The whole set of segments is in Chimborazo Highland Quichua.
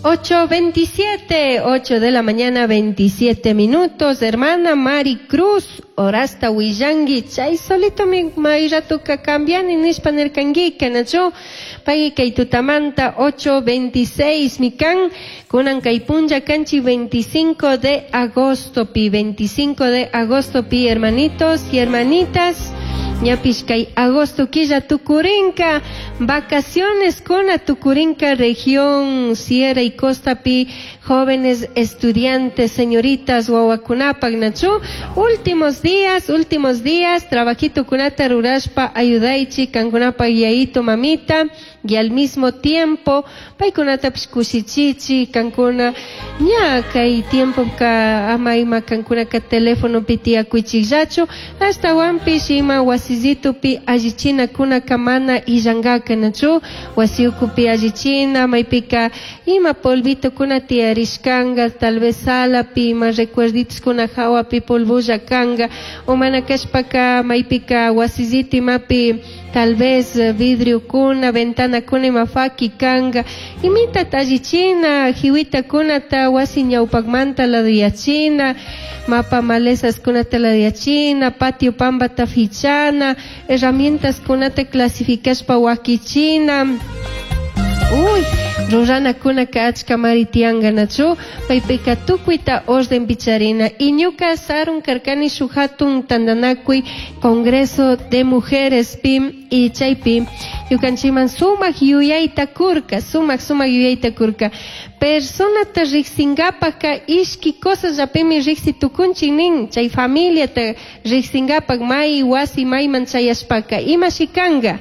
8:27, 8 de la mañana, 27 minutos. Hermana Mari Cruz, horasta huillangui, chay solito mi mayratuka cambiani nishpa nirkanguika, nachu? Pay kay tutamanta 8:26 mikan, kunan kay punlla kanchi 25 de agosto pi, 25 de agosto pi, hermanitos y hermanitas. Ñapish kay agosto killa tukurinka, vacaciones kuna tukurinka región Sierra y Costa pi, jóvenes estudiantes, señoritas, wawakunapak nachu, últimos días, últimos días, trabajito kunata rurashpa ayudaichi, kankunapa yayito mamita, y al mismo tiempo paykunatapish kushichichi, kankuna ña kay tiempo ka ama ima kankunaka telefonopi tiyakuychikllachu, ashtawanpish ima wasillitupi allichinakuna mana illankaka nachu, wasi ukupi allichina, maypika ima polvitokuna tiyarishkanka, tal vez salapi ima recuerditoskuna hawapi polvolla kanka, o mana kashpaka maypika wasillito imapi tal vez vidriokuna, ventanakuna ima faki kanka, imita allichina, hiwitakunata wasi ñawpakmanta laduyachina, mapa malezaskunata laduyachina, patio pambata fichana, herramientaskunata clasificashpa wakichina. Uy, ruranakuna achka mari tiyanka nachu, paypika tukuyta orden picharina. Y ñuka sarun karkani shuk hatun tantanakuy Congreso de Mujeres pi y chaypi ñukanchikman sumak yuyayta kurka, sumak sumak yuyayta kurka. Personata riksinkapaka ishki cosasllapimi riksi tukunchik nin, chay familiata riksinkapak may wasi mayman chayashpaka imashi kanka.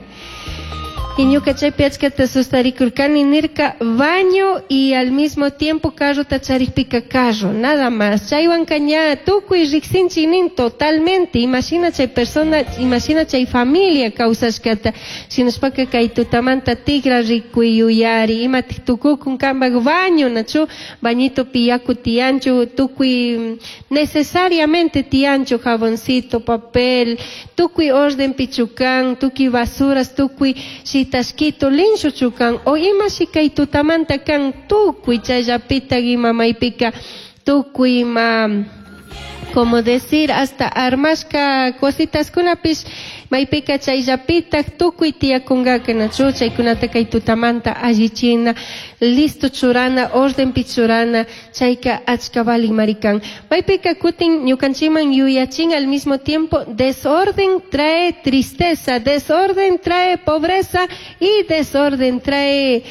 Y ñuka chaypi achkata sustarikurkani nirka baño y al mismo tiempo carrota charikpika carro, nada más. Chaywanka ña tukuy riksinchik nin totalmente. Imagina chay persona, imagina chay familia kawsashkata. Shinashpaka kay tutamanta tigra rikuy yuyari, imatik tukukun kanpak baño, nachu bañito yaku tiyanchu, tukuy necesariamente tiyanchu jaboncito, papel, tukuy orden pichukan, tukuy basuras, tukuy shitashkito linshu chukan, o ima shikay tutamanta kan tukuy chayllapita ima maypika tukuy ima, como decir, hasta armashka cositas kunapish maypika chayllapita tukuy tiyakunkaka nachu, chaykunata kay tutamanta allichina, listo churana, orden pichurana, chayka achka valik marikan. Maypika kutin ñukanchikman yuyachin al mismo tiempo, desorden trae tristeza, desorden trae pobreza y desorden trae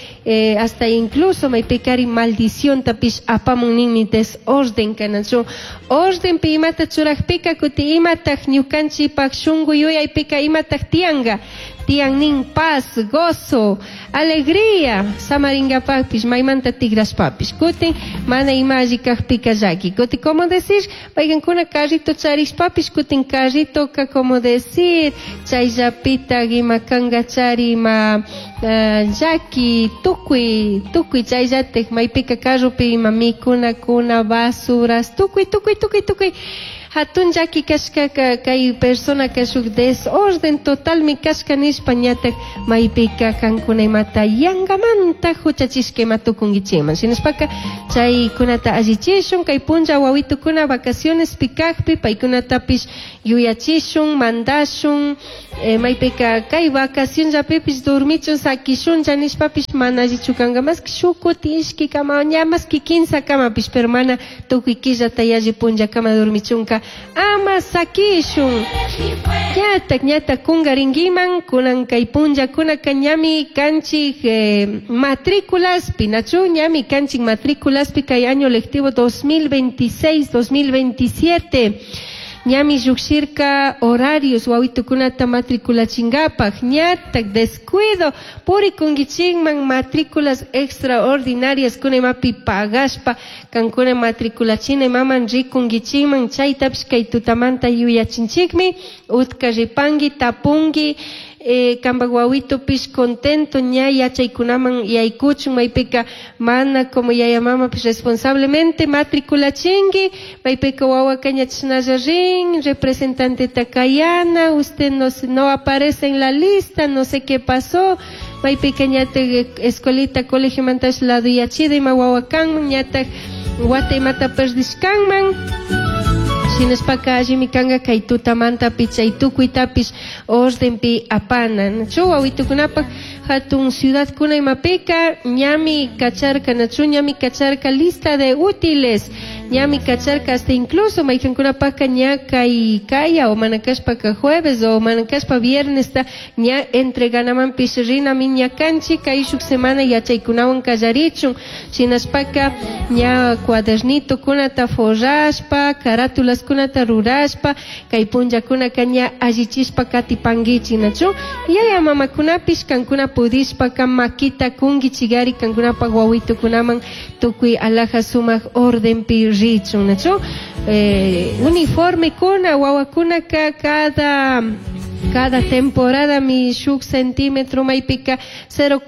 hasta incluso maypikari maldición tapish apamun ninmi desorden kanachu. Orden pi imata churakpika kuti imatak ñukanchikpak shunku yuyaypika imatak tiyanka. Tiyan nin paz, gozo, alegría, samaringapakpish, maymanta tigrashpapish. Kutin mana ima alli kakpika llaki. Kutin, como decir, maykankuna carrito charishpapish, kutin carritoka, como decir, chayllapita ima kanka chari ima llaki, tukuy, tukuy chayllatik, maypika carropi ima mikunakuna, basuras, tukuy, tukuy, tukuy, tukuy. Hatun llaki kashkaka kay persona kashuk desorden total mi kashka nishpa ñatak maypika kankuna imata yangamanta huchachishka ima tukunkichikman. Shinashpaka chaykunata allichishun kay punlla wawitukuna vacaciones pikakpi paykunatapish yuyachishun, mandashun, maypika kay vacación llapipish dormichun sakishunlla nishpapish mana allichu kanka, más que shuk kuti ishki kama ña más que kinsa kamapish, pero mana tukuy killata yalli punlla kama dormichunka ama sakishun. Ñatak, ñatak kungarinkiman, kunan kay punllakunaka ñami kanchik matrículaspi, nachu ñami kanchik matrículaspi kay año lectivo 2026-2027. Ñami llukshirka horarios wawitukunata matriculachinkapak, ñatak descuido purikunkichikman matrículas extraordinarias kuna imapi pagashpa kankuna matriculachina imaman rikunkichikman, chaytapish kay tutamanta yuyachinchikmi, utka ripanki tapunki, kanpak wawitupish contento ña yachaykunaman yaykuchun, maypika mana como yaya mamapish responsablemente matriculachinki, maypika wawaka ña chashnalla rin, representante takayana, usted no aparece en la lista, no sé qué pasó. Maypika ñatak escuelita colegiomantash laduyachida ima wawa kanman, ñatak wata imata perdishkanman. Shinashpaka allimi kanka kay tutamantapi chay tukuytapish ordenpi apana. Nachu wawitukunapak hatun ciudadkuna imapika ñami kacharka, nachu ñami kacharka lista de útiles, ñami kacharka hasta incluso maykankunapaka ña kay kaya o mana kashpaka jueves o mana kashpa viernesta ña entreganamanpish rinami ña kanchik kay shuk semana yachaykunawan kallarichun. Shinashpaka ña cuadernitokunata forrashpa, carátulaskunata rurashpa, kay punllakunaka ña allichishpa katipankichik, nachu yaya mamakunapish kankuna pudishpaka makita kunkichigari kankunapak wawitukunaman tukuy alhaja sumak ordenpi richun, nachu uniformekuna wawakunaka cada temporada mi shuk centímetro maypika 0,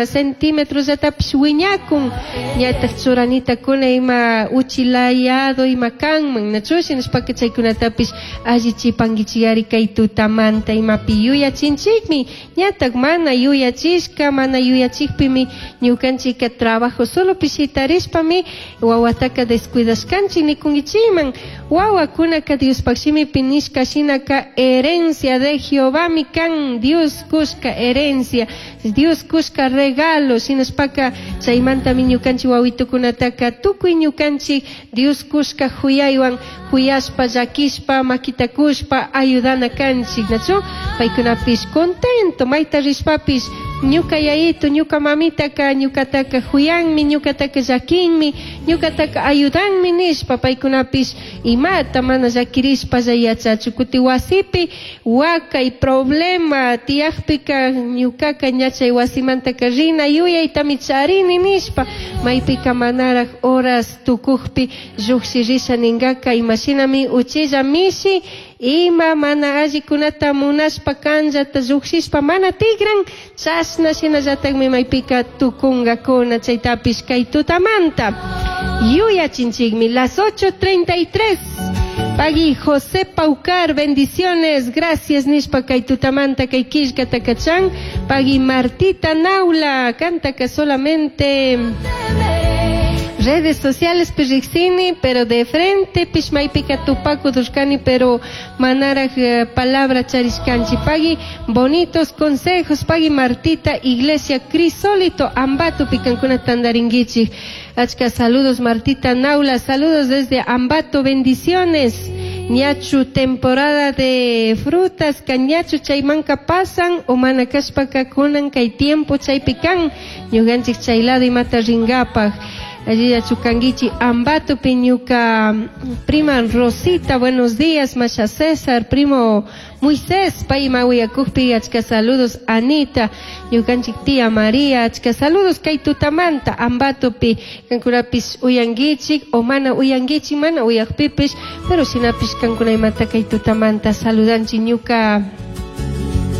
centímetros yatapish wiñakun ñatak churanitakuna ima uchilayado ima kanman, nachu shinashpaka chaykunatapish allichipankichigari kay tutamanta imapi yuyachinchikmi ñatak mana yuyachishka mana yuyachikpimi ñukanchika trabajo solo pishitarishpami wawataka descuidashkanchik nikunkichikman. Wawakunaka Diospaq shimipi nishka shinaka herencia de Jehová mi kan, Dios kushka herencia, Dios kushka regalo, shinashpaka chaymantami ñukanchik wawitukunataka tukuy ñukanchik Dios kushka huyaywan huyashpa llakishpa makitakushpa ayudana kanchik, nachu paykunapish contento mayta rishpapish ñuka yayito ñuka mamitaka ñukataka huyanmi ñukataka llakinmi ñukataka ayudanmi nishpa paykunapish imata mana llakirishpa yachachu kuti wasipi wakay problema tiyakpika ñukaka ñachay wasimantaka rina yuyaytami charini nishpa maypika manaraj horas tukukpi llukshirisha ninkaka imashinami uchilla mishi ima mana allikunata munashpa kanllata llukshishpa mana tigran chashna shinallatakmi maypika tukunkakuna chaytapish kay tutamanta yuyachinchikmi. Las 8:33. Pagui José Paucar, bendiciones, gracias nishpa kay tutamanta kay killkata kachan. Pagui Martita Naula, canta que solamente redes sociales pirriksini, pero de frente pishmaypika tupaku durkani, pero manaraj palabra charishkanchi. Pagui bonitos consejos, pagui Martita, Iglesia Crisólito, Ambato pikankuna tandaringuichi. Achka saludos Martita Naula, saludos desde Ambato, bendiciones. Ñachu temporada de frutas, cañachu chaymanka pasan, o manakashpaka kunan kay tiempo chaypikan, ñukanchik chaylado imata ringapaj. Allí yachukanguichi Ambato piñuca prima Rosita, buenos días, Masha César, primo Moisés, pay mawiyakukpi, achka saludos Anita, ñukanchik tía María, achka saludos kay tutamanta Ambatopi, kankunapis uyanguichik, o mana uyanguichik, mana uyakpipish, pero shinapish kankuna imata kay tutamanta saludanchik ñuka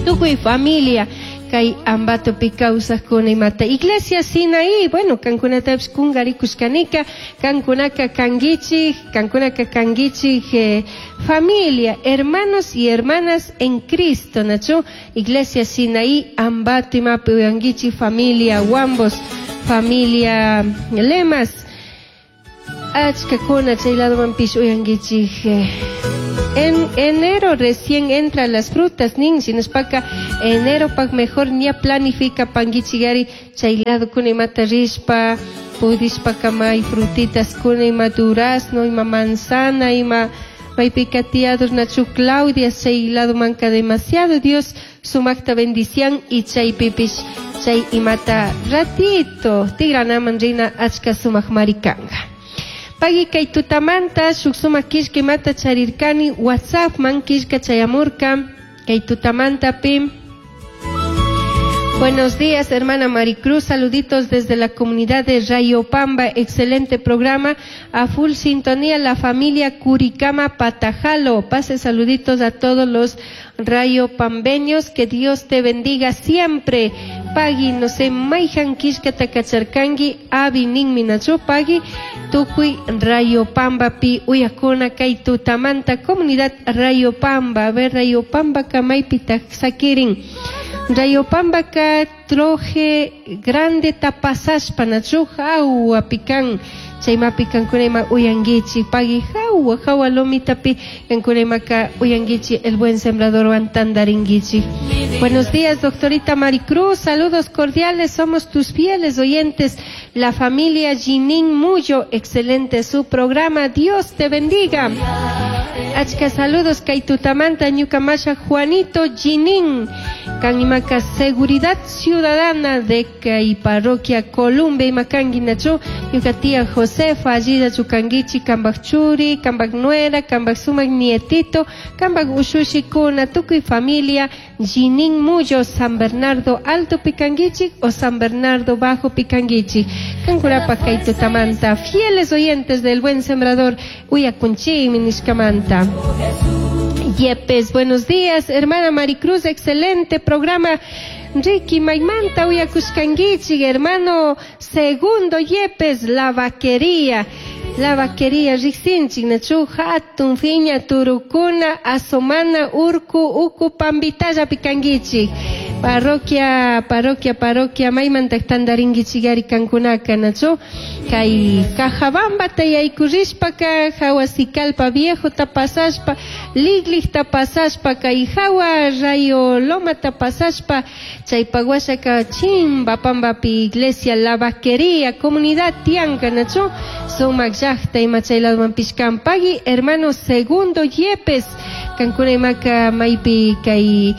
tukuy familia kay Ambatopi kawsaqkuna imata. Iglesia Sinaí, bueno, kankunatapish kungarikushkanika, kankunaka kanguichik, kankunaka kanguichik, familia, hermanos y hermanas en Cristo, nachu, Iglesia Sinaí, Ambato imapi uyanguichik, familia Huambos, familia Lemas, achkakuna chay ladomanpish uyanguichik. En enero recién entran las frutas, nin, shinashpaka enero pak mejor ña planifica panguichigari chay lado kuna imata rishpa, pudishpa kamay frutitas kuna ima durazno, ima manzana, ima maypika tiados nachu Claudia, chay lado manca demasiado, Dios sumakta bendición y chay pipish, chay imata ratito, tigranaman rina achka sumak marikanga. Pagui kay tutamanta shuk sumak killka imata charirkani WhatsApp man killka chayamurka kay tutamanta pi. Buenos días, hermana Maricruz, saluditos desde la comunidad de Rayopamba, excelente programa, a full sintonía la familia Curicama Patajalo, pase saluditos a todos los rayopambeños, que Dios te bendiga siempre. Pagui, no sé, maijan kishka takacharkangi, abi ninmi nachu, pagui, tukuy Rayopamba pi uyakuna kay tutamanta, comunidad Rayopamba, a ver Rayopamba kamaypi sakirin. Rayopambaka Troje Grandeta pasashpa nachu hawapi kan. Chaymapi kankuna ima uyankichik pagui hawa hawa lomitapi kankuna imaka uyankichik El Buen Sembradorwan tantarinkichik. Buenos días, doctorita Maricruz, saludos cordiales, somos tus fieles oyentes, la familia Ginin Muyo, excelente su programa, Dios te bendiga. Achka saludos kay tutamanta ñuka masha Juanito Ginin, kan imaka Seguridad Ciudadana de kay parroquia Columbia imakanki nachu, ñuka tía Josefa allida chukankichi kambak churi, kambak nuera, kambak sumak nietito, kambak ushushikuna, tukuy familia Ginin Muyo, San Bernardo Alto Picanguichi o San Bernardo Bajo Picanguichi. Kankurapa kay tutamanta, fieles oyentes del Buen Sembrador, Uyakunchi, Minishkamanta. Yepes, buenos días, hermana Maricruz, excelente programa. Ricky Maimanta, Uyakushkanguichi, hermano Segundo Yepes, la vaquería. La vaquería riksinchik nachu hatun fiña turukuna asomana urku uku pambitalla pikankichik parroquia parroquia parroquia maymantak tantarinkichikari kankunaka nachu kay Cajabambata yaykurishpaka hawa Sicalpa Viejota pasashpa Ligligta pasashpa kay hawa Rayo Lomata pasashpa chaypak washaka chimba pambapi iglesia La Vaquería comunidad tianka nachu sumak llaqta ima chay ladomanpish kan pagui hermano Segundo Yepes kankuna imaka maypi kay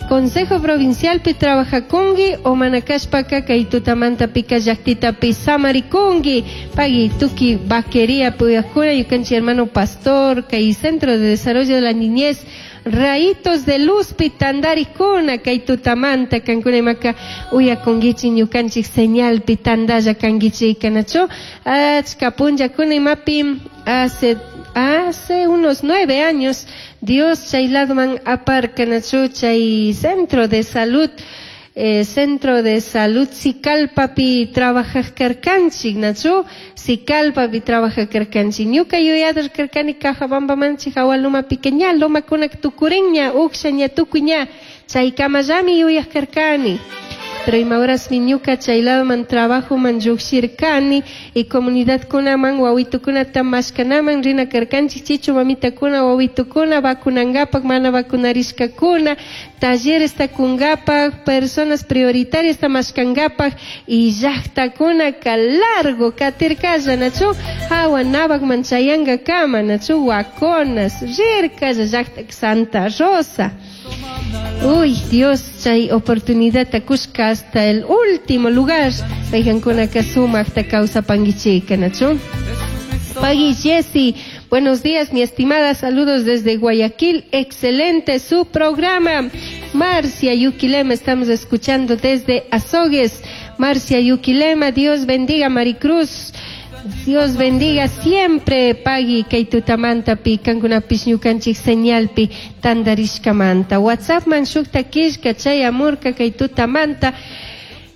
Consejo Provincial pi trabajakunki o mana kashpaka kay tutamanta pika llaqtitapi samarikunki pagui tuki vaquería puyakuna ñukanchik hermano pastor kay Centro de Desarrollo de la Niñez Rayitos de Luz pi tantarikuna kay tutamanta kankuna imaka uyakunkichik ñukanchik señal pi tantalla kankichik nachu achka punllakuna imapi hace unos 9 años Dios chay ladoman aparka nachu chay centro de salud Centro de Salud Sicalpapi trabajaj karkanchik nachu Sicalpapi trabajaj karkanchik ñuka yuyadar karkani Cajabambamanchik hawa lumapi ña lomakunak tukurinña ukshaña tukuy chaykamallami yuyaj karkani. Pero ima horasmi ñuka chay ladoman trabajoman llukshirkani y comunidadkunaman wawitukunata mashkanaman rina karkanchik chichu mamitakuna wawitukuna vacunangapak mana vacunarishkakuna talleresta kungapak personas prioritarias mashkangapak y llaqtakunaka largo katirkalla nachu hawa Nabakman chayangakama nachu Huaconas rirkalla llaqta Santa Rosa. Uy, Dios, chay oportunidad kushka hasta el último lugar. Paykankuna sumaqta kawsapankichika, nachu. Pagui Jessy, buenos días, mi estimada, saludos desde Guayaquil, excelente su programa. Marcia Yuquilema, estamos escuchando desde Azogues. Marcia Yuquilema, Dios bendiga Maricruz. Dios bendiga siempre pagui kay tutamantapi kankunapish ñukanchik señalpi tantarishkamanta. WhatsApp man shukta killka chayamurka kay tutamanta.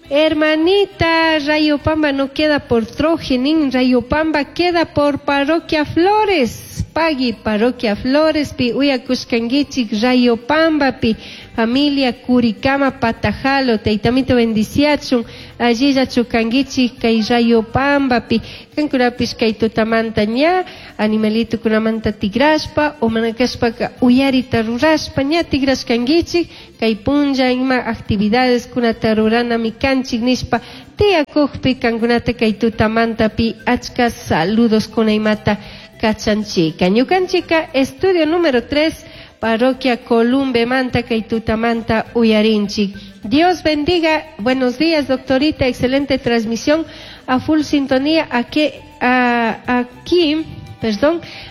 Hermanita, Rayopamba no queda por Trojenin, Rayopamba queda por Parroquia Flores. Pagui Parroquia Flores, pi uyakushkankichik Rayopamba pi familia Curicama Patajalo, taytamito bendiciachun, allilla chukankichik kay Rayopamba pi kankunapish kay tutamanta ña animalito kunamanta tigrashpa o manakashpaka uyarita rurashpa ña tigrashkankichik kay punlla ima actividades kunata ruranami kanchik nishpa tiyakukpi kankunata kay tutamanta pi achka saludos kuna imata kachanchika. Ñukanchika estudio número 3 parroquia Columbe manta kay tutamanta uyarinchik. Dios bendiga, buenos días doctorita, excelente transmisión, a full sintonía aquí,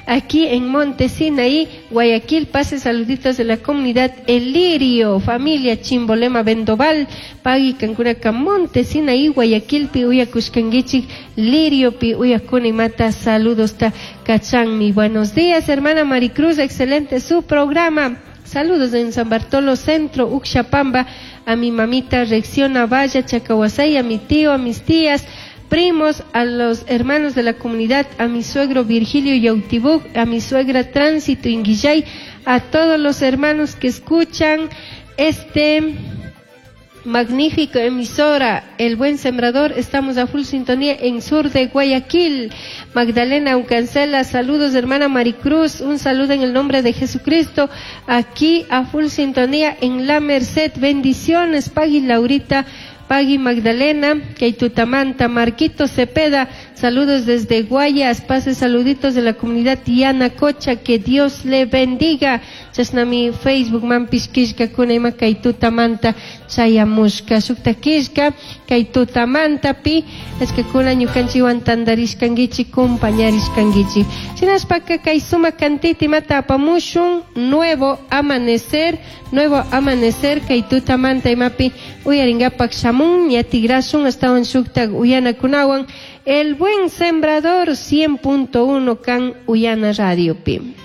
aquí en Monte Sinaí, Guayaquil, pase saluditos de la comunidad El Lirio, familia Chimbolema Vendoval, Pagui Cancunaca, Monte Sinaí, Guayaquil, pi uyakushkankichik, Lirio, pi uyakuna imata, saludos ta kachanmi. Buenos días, hermana Maricruz, excelente su programa. Saludos en San Bartolo Centro, Uxapamba, a mi mamita Reacciona Valla, Chacahuasay, a mi tío, a mis tías, primos, a los hermanos de la comunidad, a mi suegro Virgilio Yautibuk, a mi suegra Tránsito Inguillay, a todos los hermanos que escuchan este Magnífico emisora, El Buen Sembrador, estamos a full sintonía en sur de Guayaquil. Magdalena Ucancela, saludos hermana Maricruz, un saludo en el nombre de Jesucristo, aquí a full sintonía en La Merced, bendiciones, Pagui Laurita, Pagui Magdalena, Keitutamanta, Marquito Cepeda, saludos desde Guayas, pase saluditos de la comunidad Tiana Cocha, que Dios le bendiga. Chashnami Facebook manpish killkakuna ima kay tutamanta chayamushka shukta killka kay tutamantapi achkakuna ñukanchikwan tantarishkankichik compañarishkankichik shinashpaka kay sumak cantita imata apamushun nuevo amanecer nuevo amanecer kay tutamanta imapi uyarinkapak shamun ña tigrashun ashtawan shuktak uyanakunawan El Buen Sembrador 100.1 kan Uyana Radiopi.